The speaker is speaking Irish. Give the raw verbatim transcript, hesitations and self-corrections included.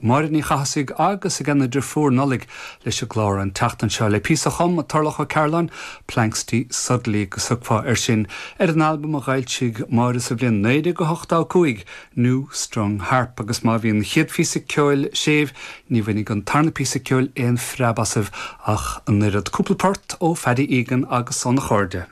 Máire Ní Chathasaigh agus a gena deirfiúr Nollaig leis an gclár an tseachtain seo le píosa a chum Turlough Ó Cairealláin Planxty Suddenly go socfá ar sin ar an albam a d'fhoilsigh Máire sa bhliain naoi déag ochtó cúig New Strung Harp agus má bhí an chéad phíosa ceoil séimh ní bhainfidh an tarna píosa ceoil aon phreab asaibh ach an oiread cúpla port ó Phaddy Egan agus óna chairde.